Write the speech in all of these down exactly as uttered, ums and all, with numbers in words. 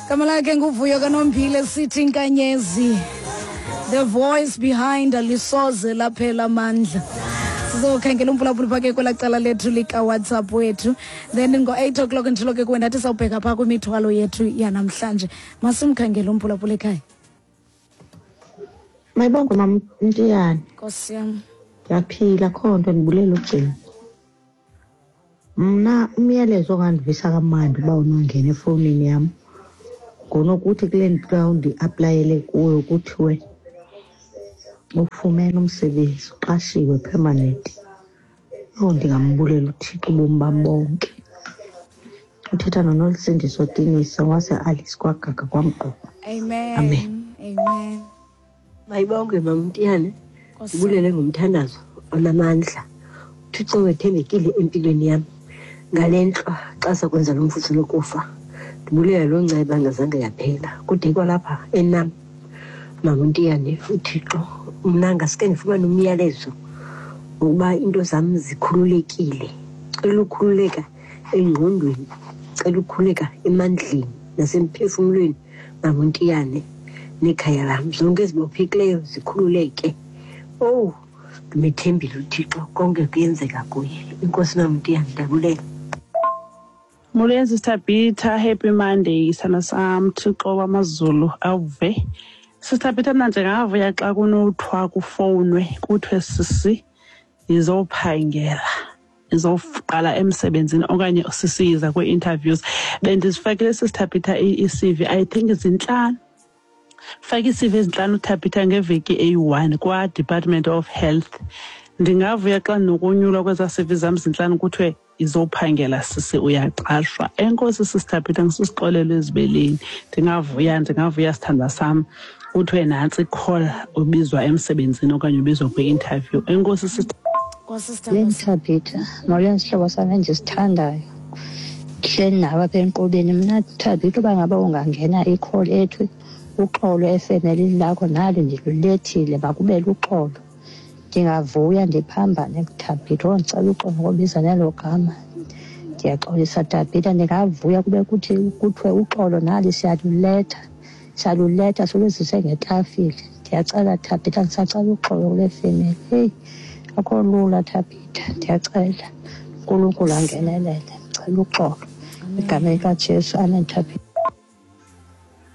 Gama lakhe nguVuyo kaNombile, sithi inkanyezi, the voice behind Alisoze Laphela Amandla. Sizokhangela umphulaphuli phake kwelaa cala lethu likaWhatsApp wethu, then ngo-eight o'clock nditshilo ke kuwe ndathi sawubheka phaa kwimithwalo yethu yanamhlanje. Masimkhangele umphulaphuli ekhaya. Mayibongwe, Mamntiyane. Nkosi yam. Ndiyaphila, kho nto, ndibulela ugcina. Mna umyalezo ongandivisa kamandi uba unongena efowunini yam ngonokuthi kule ndawo ndi-aplayele kuyo kuthiwe ufumene umsebenzi, uqashiwe permanent. Owu, ndingambulela uThixo ubomi bam bonke. Uthetha noNolusindiso Tinisa waseAlice kwaGaga kwaMgquba. Amen. Amen. Amen. Mayibongwe, Mamntiyane. Nkosi. Ndibulele ngomthandazo onamandla. UThixo wethembekile empilweni yam. Ngale ntlwa xa sakwenza lo mfutho lokufa, ndibulela loo nceba ngazange yaphela. Kude kwalapha enam, Mamntiyane, uThixo mna ngaske ndifumane umyalezo wokuba iinto zam zikhululekile. Cela ukhululeka engqondweni, cela ukhululeka emandleni nasemphefumlweni, Mamntiyane, nekhaya lam. Zonke ezibophekileyo zikhululeke. Owu, ndimethembile uThixo, konke kuyenzeka kuye. Inkosi, Mamntiyane, ndiyabulela. Molweni, Sister Peter, happy Monday, sana sam, Thixo wamazulu awuve. Sister Peter, mna ndingavuya xa kunothiwa kufowunwe kuthiwe sisi yizophangela, izoqala emsebenzini, okanye sisi yiza kwii-interviews. Bendizifakile, Sister Peter, i-C V, I think zintlanu. Fake ii-C V ezintlanu, Thabitha, ngeveki eyi-one kwa-Department of Health. Ndingavuya xa ndinokonyulwa kwezaa C V zam zintlanu kuthiwe izophangela sisi, uyaqashwa. Enkosi, Sister Peter, ngisusixolelo ezibeleni. Ndingavuya, ndingavuya, sithandwa sam, kuthiwe nantsi i-call, ubizwa emsebenzini okanye ubizwa kwi-interview. Enkosi, sister. Nkosi, sithandwa. Molweni, Thabitha, molweni sihlobo sam endisithandayo. Ndihleli nawe apha enkqubeni. Mna Thabitha, uba ngaba ungangena i-call ethi uxolo efemelini lakho nali ndilulethile, makube luxolo. Ndingavuya ndiphambane, Thabitha. Oh, ndicela uxolo ngobiza nelo gama. Ndiyaxolisa, Thabitha, ndingavuya kube kuthi kuthiwe uxolo nali siyaluletha. Siyaluletha siluzise ngetafile. Ndiyacela Thabitha, ndisacela uxolo kule femeli. Heyi, akho lula Thabitha, ndiyacela uNkulunkulu angenelele. Ndicela uxolo. Egameni likaJesu, amen Thabitha.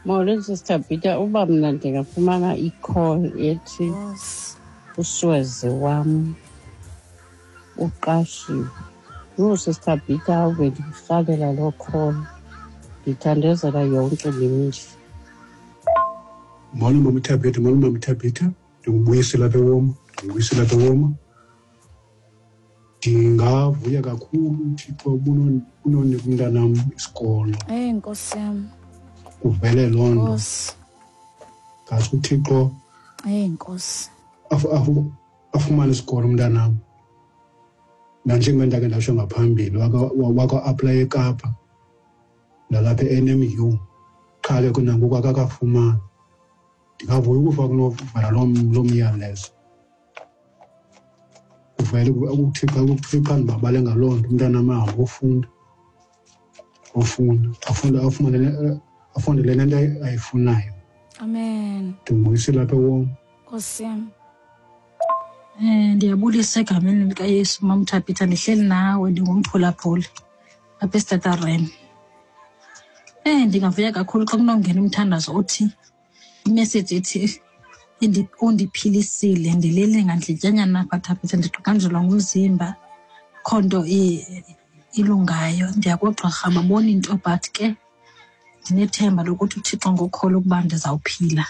Molweni, Sister Peter, uba mna ndingafumana i-call ethi Nkosi. uswezi wam uqashiwe. Yho, Sister Peter, ave ndirhalela loo call. Ndithandazela yonke le mihla. Molo Mama Thabitha, molo Mama Thabitha. Ndingubuyisela apha eWoma, ndingubuyisela apha eWoma. Ndingavuya kakhulu uThixo unonika umntanam isikolo. Eyi, Nkosi yam. Kuvele loo nto. Nkosi. Ngathi uThixo Eyi, Nkosi. afu-, afu-, afumane isikolo umntanam. Nanjengoba ndakhe ndatsho ngaphambili, waka-aplaya eKapa nalapha e-N M U, qha ke nangoku akakafumani. Ndingavuya ukufa kunovela loo, loo myalezo. Kuvele uThixo, uThixo andibabale ngaloo nto, umntanam ahambe ofunda, ofunda, afunde, afumane le, afunde le nto ayifunayo. Amen. Ndingubuyisela apha eWoma. Nkosi yam. Eh, ndiyabulisa egameni likaYesu, Mama Thabitha, ndihleli nawe, ndingumphulaphuli apha eStatarem. Eh, ndingavuya kakhulu xa kunongena umthandazo othi imessage ethi indi-, undiphilisile, ndilele ngandlityanyana apha Thabitha, ndiqaqanjelwa ngumzimba, akho nto i-, ilungayo. Ndiya koogqirha babona into, but ke ndinethemba lokuthi uThixo ngokholo ukuba ndizawuphila.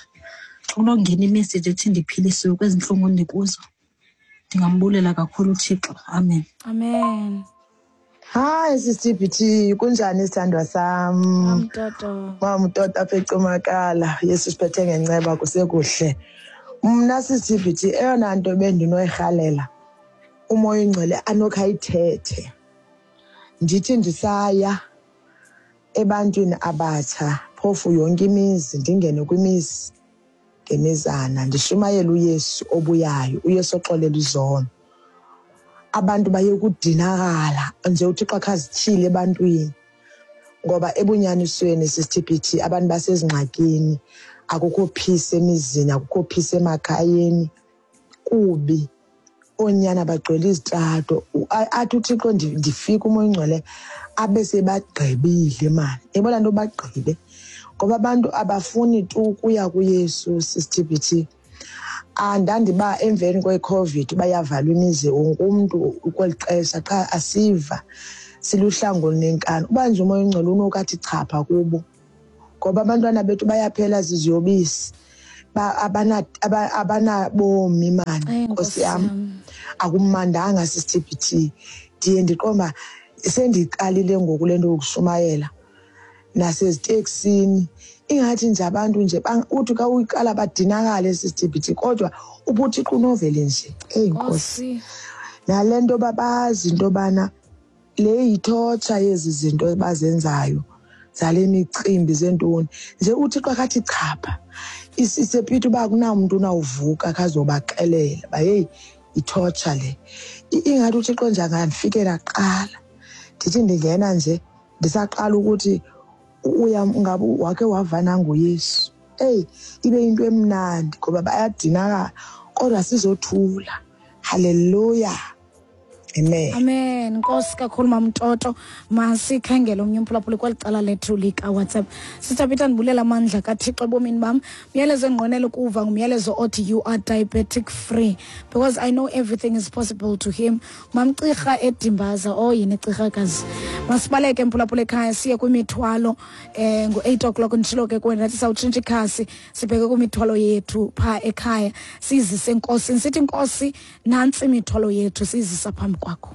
Xa kunongena imessage ethi ndiphilisiwe kwezi ntlungu ndikuzo, ndingambulela kakhulu uThixo. Amen. Amen. Hi, Sister B T, kunjani sithandwa sam? Mamtoto. Mamtoto apha eCumakala. Yesu siphethe ngenceba kusekuhle. Mna Sister B T, eyona nto bendinoyirhalela uMoya oyiNgcwele anokhe ayithethe. Ndithi ndisaya ebantwini abatsha, phofu yonke imizi, ndingene kwimizi ngemizana, ndishumayele uYesu obuyayo, uYesu oxolela izono. Abantu baye kudinakala nje, uThixo akhe azityhile ebantwini. Ngoba ebunyanisweni sisithipithi abantu basezingxakini, akukho peace emizini, akukho peace emakhayeni, kubi. Oonyana bagcwele izitrato. Athi uThixo ndifika uMoya oNgcwele abe sebagqibile mani. Yabona nto bagqibe. Ngoba abantu abafuni tu ukuya kuYesu sisithipithi. Andandiba emveni kwe-COVID bayavalwa imizi wonke umntu kweli xesha qha asiva siluhlango nenkani. Uba nje uMoya oNgcwele unokathi chapha kubo. Ngoba abantwana bethu bayaphela ziziyobisi. Abanabomi mani, Nkosi yam. Akumandanga sisithipithi. Ndiye ndiqomba sendiqalile ngoku le nto yokushumayela naseziteksini. Ingathi nje abantu nje uthi xa uyiqala badinakale sisithipithi, kodwa ubuThixo unovele nje. Eyi Nkosi. Nale nto babazi into yobana le yithotsha yezi zinto bazenzayo zale micimbi zentoni. Nje uThixo akathi chapha. Isepitha uba akunamntu unawuvuka khazobaxelela uba heyi ithotsha le. Ingathi uThixo nje angandifikela kuqala. Ndithi ndingena nje ndisaqala ukuthi uya ngabe wakhe wavana ngoYesu. Eyi ibe into emnandi ngoba bayadinakala kodwa sizothula. Hallelujah. Amen. Amen. Nkosi kakhulu Mamtoto. Masikhangele omnye umphulaphuli kweli cala lethu lika WhatsApp. Sister Peter, ndibulela amandla kaThixo ebomini bam. Umyalezo endiqwenela ukuva ngumyalezo othi you are diabetic free because I know everything is possible to him. Mamcirha eDimbaza, oh yini Cirhakazi. Masibaleke mphulaphuli ekhaya siye kwimithwalo eh ngo-eight o'clock nditshilo ke kuwena ndathi sawutshintsha ikhasi sibheke kwimithwalo yethu phaa ekhaya sizise enkosini. Sithi Nkosi nantsi imithwalo yethu sizisa phambi kwakho.